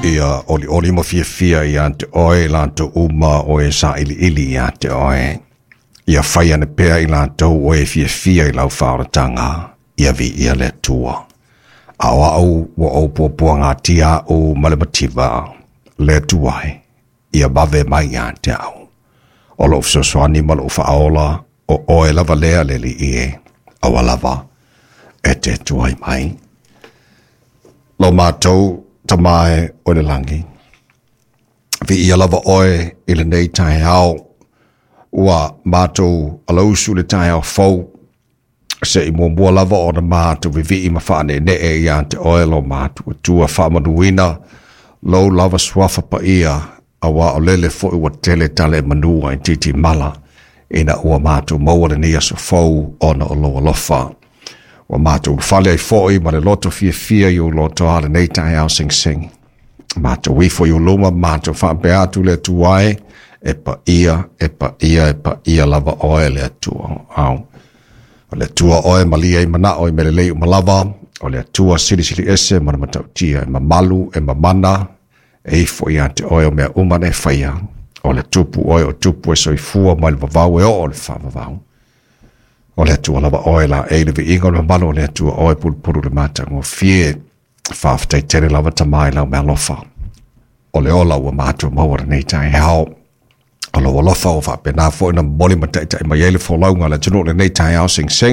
Ia olioli ma fiafia ia te oe latou uma o e sailiili ia te oe. Ia fai ane pea i latou o e fiafia i lau faaolataga, ia viia le Atua. A o au ua ou puapuagatia au ma le mativa, le Atua e, ia vave mai ia te au. O lou fesoasoani ma lou faaola, o oe lava lea le Alii e, aua lava e te tuai mai. Lo matou Tama e o le lagi, viia lava oe i lenei taeao, ua matou alausu le taeao fou, se i muamua lava ona matou vivii ma faaneenee ia te oe lo matou Atua faamanuina lou lava suafa paia, auā o lele foi ua tele tala e manua i titimala, ina ua matou maua lenei aso fou ona o lou alofa. Ua matou ulufale ai foi ma le loto fiafia i ou lotoa lenei taeao segisegi. Matou ifo i ou luma, matou faapea atu le Atua e, e paia, e paia, e paia lava oe le Atua. Au. O le Atua oe malie ai manao i mea lelei uma lava, o le Atua silisili ese ma le matautia, e mamalu, e mamana, e ifo ia te oe o mea uma na e faia. O le Tupu oe o tupu e soifua mai le vavau e oo i le faavavau. O le Atua lava oe laei le viiga o le mamalu o le Atua oe pulupulu le matagofie. Faafetai tele lava Tama i lau meaalofa. O le ola ua matou maua lenei taeao. O lou alofa ua faapena foi ona momoli ma taitai mai ai le folauga a le atunuu lenei taeao segisegi.